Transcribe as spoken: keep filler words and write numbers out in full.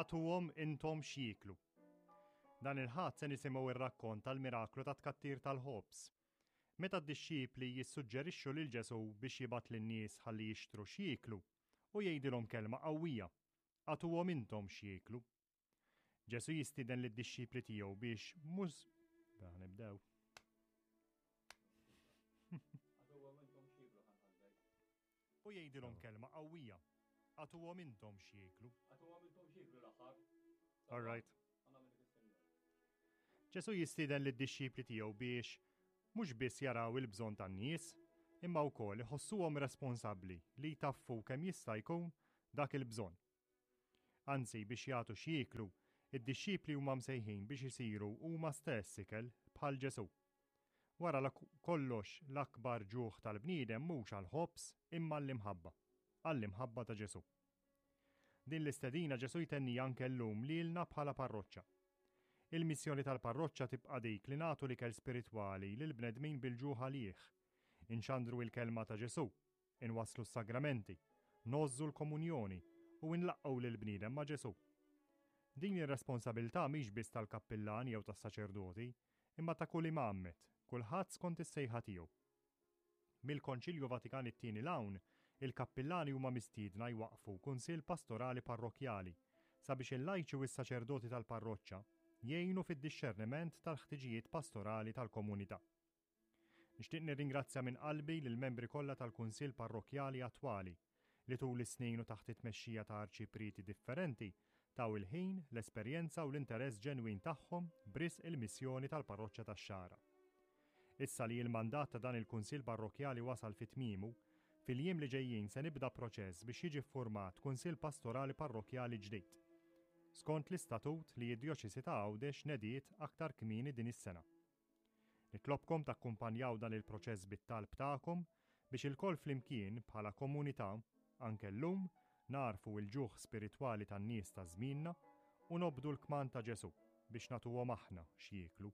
Agħtuhom intom x'jieklu. Dan il-Ħadd se nisimgħu ir-rakkont tal-miraklu ta' tkattir tal-ħobż. Meta d-dixxipli jissuġġerixxu lil Ġesù biex jibgħat lin-nies ħalli jixtru x'jieklu, u jgħidilhom kelma qawwija: Agħtuhom intom x'jieklu. Ġesù jistieden lid-dixxipli tiegħu biex mhux nibdew. U jgħidilhom kelma qawwija. Agħtuhom intom x'jieklu. Agħtuhom intom x'jieklu l-aħħar. All right. Ġesù jistieden lid-dixxipli tiegħu biex mhux biss jaraw il-bżonn tan-nies, imma wkoll iħossuhom responsabbli li jtaffu kemm jista' jkun dak il-bżonn. Anzi, biex jagħtu x'jieklu, id-dixxipli huma msejħin biex isiru huma stess ikel bħal Ġesù. Wara kollox l-akbar ġuħ tal-bniedem mhux għall-ħobż imma għall-imħabba, għall-imħabba ta' Ġesù. Din l-istedina Ġesù jtenni anke llum lilna bħala parroċċa. Il-missjoni tal-parroċċa tibqa' dik li nagħtu l-ikel spiritwali lil bnedmin bil-ġuħ għalih. Inxandru il-kelma ta' Ġesù, inwasslu s-sagramenti, ngħożżu l-komunjoni u nlaqqgħu lil bniedem ma' Ġesù. Din ir-responsabilità mhix biss tal-kappillan jew tas-saċerdoti, imma ta' kull imgħammed, kulħadd skont is-sejħa tiegħu. Mill-Konċilju Vatikan it-tieni 'l hawn, il-kappillani huma mistiedna jwaqfu kunsill pastorali parrokkjali sabiex il-lajċi u s-saċerdoti tal-parroċċa jgħinu fid-dixxerniment tal-ħtiġijiet pastorali tal-komunità. Nixtieq nirringrazzja minn qalbi lill-membri kollha tal-Kunsill Parrokkjali attwali li tul is-snin u taħt it-tmexxija ta' arċiprieti differenti taw il-ħin, l-esperjenza u l-interess ġenwin tagħhom b'risq il-missjoni tal-parroċċa tax-Xagħra. Issa li l-mandat ta' dan il-Kunsill Parrokkjali wasal fi tmiemu, fil-jiem li ġejjin se nibda proċess biex jiġi ffurmat Kunsill Pastorali Parrokkjali ġdid, skont l-istatut li d-Djoċesi ta' Għawdex nediet aktar kmieni din is-sena. Nitlobkom takkumpanjaw dan il-proċess bit-talb tagħkom biex ilkoll flimkien bħala komunità anke llum narfu il-ġuħ spiritwali tan-nies ta' żmienna u nobdu l-kmand ta' Ġesù biex nagħtuhom aħna x'jieklu.